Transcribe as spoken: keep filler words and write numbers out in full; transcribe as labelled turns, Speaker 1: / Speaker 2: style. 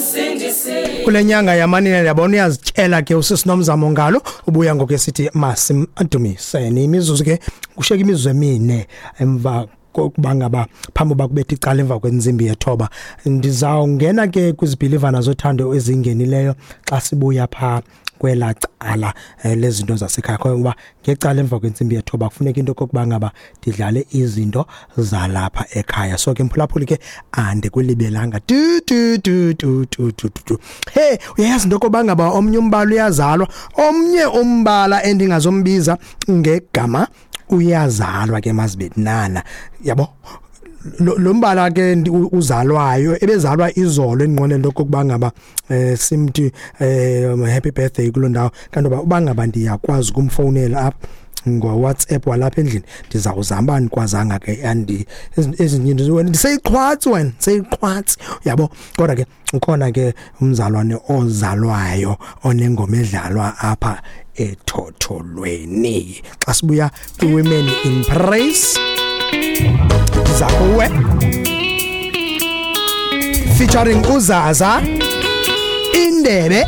Speaker 1: Umsindisi.
Speaker 2: Kule nyanga yamanina, ndiyabona uyazityela ke usisi Nomzamo ngalo, ubuya ngoku esithi masimdumiseni. Imizuzu ke kushiyeka imizuzu emine emva kokuba ngaba phambi uba kubetha icala emva kwentsimbi yethoba. Ndizawungena ke kwizibhilivana zothando ezingenileyo xa sibuya phaa kwelaa cala eh, lezinto zasekhaya, ngoba ngecala emva kwentsimbi yethoba kufuneka into okokuba ngaba ndidlale izinto zalapha ekhaya. So ke mphulaphuli ke andikulibelanga tu tu tu tu tu tu tu, tu. Hey, uyayazi into okokuba ngaba omnye umbala uyazalwa, omnye umbala endingazombiza ngegama uyazalwa ke mazibetnana, yabo. Lo lo mbala ke ndi- u- uzalwayo ebezalwa izolo, endinqwenela into okokuba ngaba eh simthi eh happy birthday kuloo ndawo. Kanti uba uba ngaba ndiyakwazi ukumfowunela apha ngo-WhatsApp walapha endlini, ndizawuzama. Uba andikwazanga ke, andi ezi- ezinye into wena ndiseyiqhwatsi, wena ndiseyiqhwatsi, uyabo. Kodwa ke ukhona ke umzalwane ozalwayo onengoma edlalwa apha ethotholweni xa sibuya kwi-Women in Praise. Ndiza kuwe featuring uZaza Indebe.